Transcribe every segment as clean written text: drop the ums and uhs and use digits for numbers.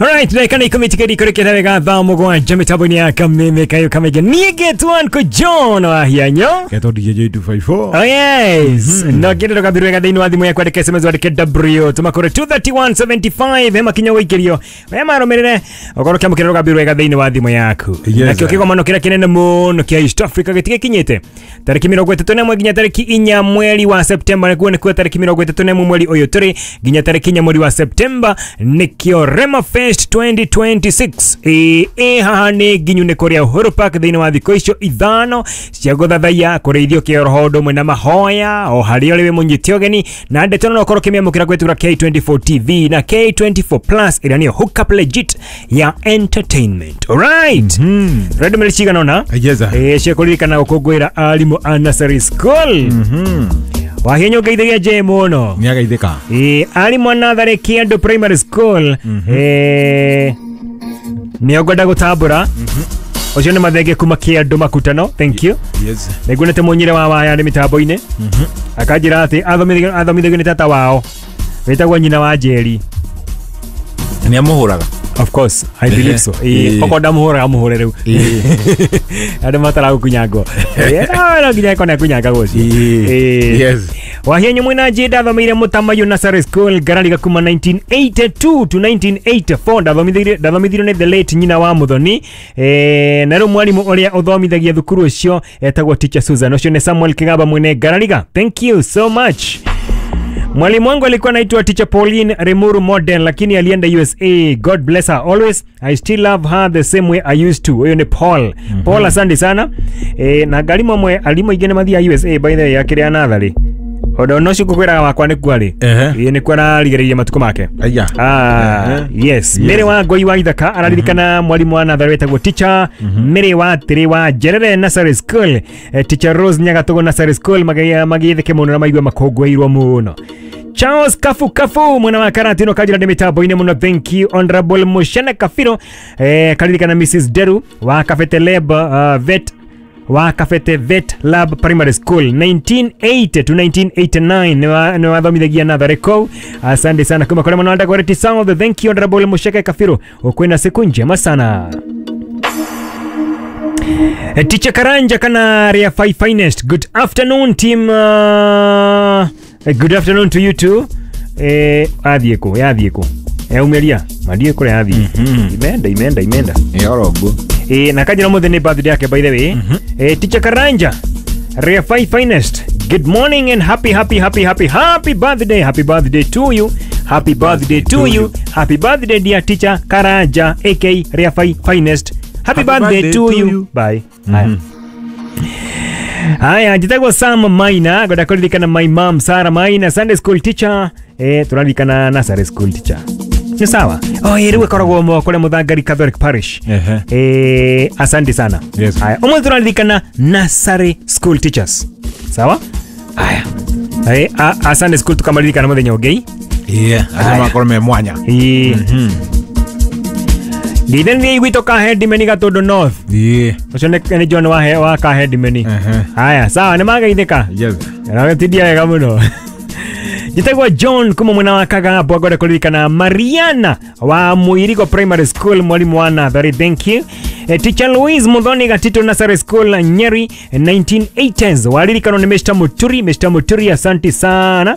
Alright, ndagĩka nĩ 10 tigari kũrĩkĩte wega thaa 7 mĩtambo-inĩ ya Kameme kayo kamege. Niĩ ngetwo Uncle John wa Hianyo. Ketwo DJ 254. Oh yes. No ngĩenda ndũgambĩrĩrie wega thĩinĩ wa thimũ yaku, andĩka SMS, wandĩke W tũma kũrĩ 23175, he makinya gũikĩrio we marũmĩrĩre ũkorwo ũkĩamũkĩra rũgambĩ rwega thĩinĩ wa thimũ yaku. Nakĩo kĩgomano kĩrĩa kĩnene mũno kĩa East Africa gĩtigĩkinyĩte tarĩki 31 nginya tarĩki 4 mweri wa Septemba, nĩkuo nĩkuo tarĩki 31 mweri ũyũ tũrĩ nginya tarĩki 4 mweri wa Septemba, nĩkĩo Rema Fest 2026. Ĩ haha nĩ nginyu nĩ kũrĩa Uhuru Park thĩinĩ wa thikũ icio 5 cia gũthathaiya, kũrĩithio kĩroho ũndũ ũmwe na mahoya o harĩa ũrĩ wĩ mũnyite ũgeni, na ndeto no ũkorwo ũkĩmĩamũkĩra kũhĩtũkĩra K24 TV na K24 Plus ĩrĩa nĩyo hookup legit ya entertainment. Alright. Redo meli cigana ũna Yes. Ĩ cia kũririkana gũkũngũĩra arimũ a nursery school. Wahinyũ ngeithagia nje mũno. Nĩ agaithĩka. Ĩ arimũ a natharĩ Kĩandũ Primary School, nĩo ngwenda gũtambũra ũcio nĩ mathenge kuma Kĩandũ Makutano. Thank you. Yes. Nĩnguonete mũnyire wa waya nĩ mĩtambo-inĩ akanjĩra atĩ athomithagio nĩ tata wao wĩtagwo nyina wa Njeri. Nĩ amũhũraga. Of course, I believe so. Okorwo ndamũhũraga mũhũre rĩu. Andũ mataragũkunyangwo. No nginya ĩkorwo nĩakunyangagwo ũcio. Yes. Wahianyu mwina nji ndathomeire Mũtamaiyũ Nursery School Ngarariga kuma 1982 to 1984. Ndathomithirio nĩ the late nyina wa Muthoni, na rĩu mwarimũ ũrĩa ũthomithagia thukuru ũcio etagwo Teacher Susan. Ũcio nĩ Samuel Kigaba mwene Ngarariga. Thank you so much. Mwalimu wangu alikuwa anaitwa Teacher Pauline Remuru Model, lakini alienda USA. God bless her always. I still love her the same way I used to. Huyo ni Paul. Paul, asante sana. Na ngarimu amwe arimũ aingĩ nĩ mathiaga USA by the way akĩrĩa natharĩ. Ũndũ no ũcio ngũkwĩraga wakwa nĩkuo arĩ. Ĩĩ nĩkuo ararigĩrĩria matukũ make. Aya. Yes. Mary wa Ngoi wa Ithaka araririkana mwalimu wa natharĩ wetagwo Teacher Mary wa Tĩrĩ wa Njerere Nursery School, Teacher Rose Nyagatũgũ Nursery School, magĩtheke mũno na maigua makũngũĩirwo mũno. Charles Kafu Kafu mwena wa Karatino kajira ndĩ mĩtambo-inĩ mũno. Thank you. Honorable Mushene Kafiro, karirikana Mrs Deru wa Kabete Lab, Vet wa Kabete Vet Lab Primary School 1980 to 1989, nĩ wathomithagia natharĩ kũu. Asante sana kuma kũrĩ mũno Dagoretti South. Thank you, Honorable Musheke Kafiro, ukwena siku njema sana. Teacher Karanja kana Ria Five Finest. Good afternoon team. Good afternoon to you too. Athiĩ kũ? Yathiĩ kũ? Yaumeria. Mathiĩ kũrĩa yathiĩ. Imeenda imeenda imeenda. Ĩ oro ũguo. Na kanjĩra ũmũthĩ nĩ birthday yake by the way. Teacher Karanja Ria Five Finest. Good morning and happy happy happy happy happy birthday. Happy birthday to you. Happy birthday to you. Happy birthday, dear Teacher Karanja aka Ria Five Finest. Happy birthday to you. Bye. Haya. Haya, njitagwo Sam Maina, ngwenda kũririkana my mom Sarah Maina, Sunday school teacher. Tũraririkana nursery school teacher. Nĩ sawa. Oh, rĩu ĩkoragwo kũrĩa Mũthangari Catholic Parish. Asante sana. Yes. Haya, ũmũthĩ tũraririkana nursery school teachers. Sawa? Haya. A Sunday school tukamaririkana mũthenya ũngĩ. Acio makorwo me mwanya. Ĩĩ. Ngithania gwitũ Kahedimeni Gatũndũ North. Ũcio nĩ John wa Kahedimeni. Haya, sawa, nĩ mageithĩka. Yes. Nagetindia wega mũno. Njĩtagwo John kuma mwena wa Kagambwa, ngwenda kũririkana Mariana wa Mũirigo Primary School, mwalimu wa natharĩ. Thank you. Teacher Louise Muthoni Gatito Nursery School Nyeri 1980s, waririkanwo nĩ Mr Muturi. Mr Muturi, asante sana.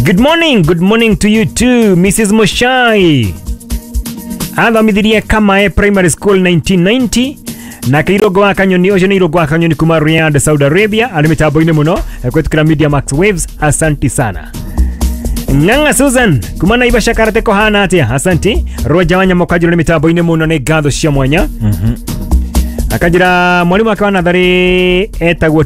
Good morning, good morning to you too, Mrs Mushai. Athomithirie Kamae Primary School 1990 na Kairongo wa Kanyoni. Ũcio nĩ Irongo wa Kanyoni kuma Riyadh, Saudi Arabia, arĩ mĩtambo-inĩ mũno kũhĩtũkĩra Media Max Waves. Asanti sana. Ng'ang'a Susan kuma Naivasha Karate kũhana atĩa? Asanti. Roja wa Nyamũ kanjĩra nĩ mĩtambo-inĩ mũno, nĩ ngatho cia mwanya. Akanjĩra mwarimũ wake wa natharĩ etagwo